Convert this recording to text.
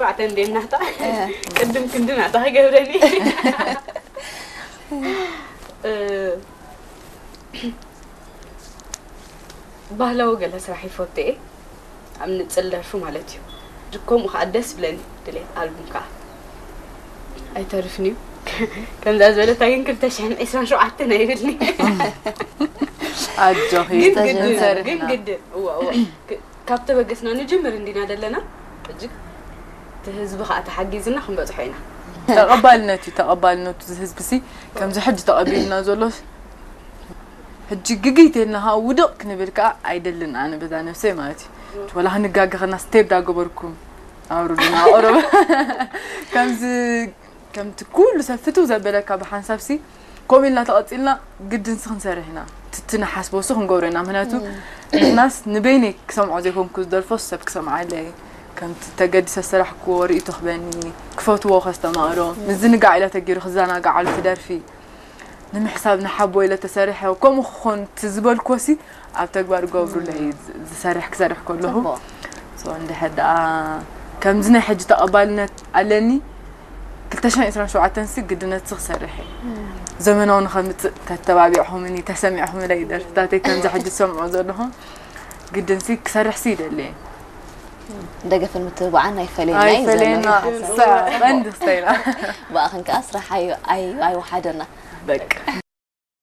ሸውዓተ እንዴ ናታ ቅድም ክንዲ ናታ ክገብረኒ። እ፣ ባህላዊ ገለ ስራሕ ይፈቱ እየ፣ ኣብ ንጽል ደርፊ ማለት እዩ። ከምኡ ከዓ ደስ ብለኒ ድሌት ኣልቡም ከዓ ኣይተርፍን እዩ። ከምዛ ዝበለታ ግን ክልተ ሽሕን ዕስራን ሸውዓተን ኣይብልኒ። ኣጆኺ ግን ግድን ንሰርሕ ግን ኢና። ግድን እዋ እዋ ክ- ካብ ተበገስና ንጅምር እንዲና ዘለና እጅግ እቲ ህዝቢ ከዓ ተሓጊዝና ክንበፅሖ ኢና። ተቐባልነት እዩ። ተቐባልነቱ እዚ ህዝቢ ሲ ከምዚ ሕጂ ተቐቢልና ዘሎ ሕጂ ግግይት ኢልና ከዓ ውድቕ ክንብል ከዓ ኣይደልን ኣነ በዛ ነብሰይ ማለት እዩ። ወላ ክንጋገ ከና ስቴፕ ዳገበርኩም ኣውርዱና ኣቕርብ ከምዚ ከምቲ ኩሉ ሰብ ፍትው ዘበለካ ብሓንሳብ ሲ ከምኡ ኢልና ተቐፂልና ግድን ሲ ክንሰርሕ ኢና። ትቲ ንሓስቦ ሲ ክንገብሮ ኢና። ምክንያቱ ንሕናስ ንበይነይ ክሰምዖ ዘይኮንኩ ዝደርፎ ሰብ ክሰምዓለይ ከምቲ ተገዲሰ ዝሰራሕክዎ ርእይቶ ክበኒ ክፈትዎ ከስተማቕሮ ምዝንጋዕ ኢለ ተገይሩ ክዘናጋዓሉ ትደርፊ ንምሕሳብ ንሓቦ ኢለ ተሰሪሐ ከምኡ ክኾን እቲ ዝበልክዎ ሲ ኣብ ተግባር ገብሩለይ ዝሰርሕ ክሰርሕ ከለኹ ጽቡቕ። So እንድሕር ደኣ ከምዚ ናይ ሕጂ ተቐባልነት ኣለኒ ክልተ ሽሕን ዕስራን ሸውዓተን ሲ ግድነት ሲ ክሰርሕ እየ ዘመናዊ ንኸምፅእ ተተባቢዕኹምኒ ተሰሚዕኹምለይ ደርፍታተይ ከምዚ ሕጂ ዝሰምዖ ዘለኹም ግድን ሲ ክሰርሕ ሲ ይደሊ እየ ደገፍን ምትብባዕን ኣይፈለየና እዩ ኣይፈለየና ዘመን ሓሳብ። ቀንዲ ክስተይና ብኣኽን ከዓ ስራሕ ኣይ- ኣይ- ኣይወሓደና በቃ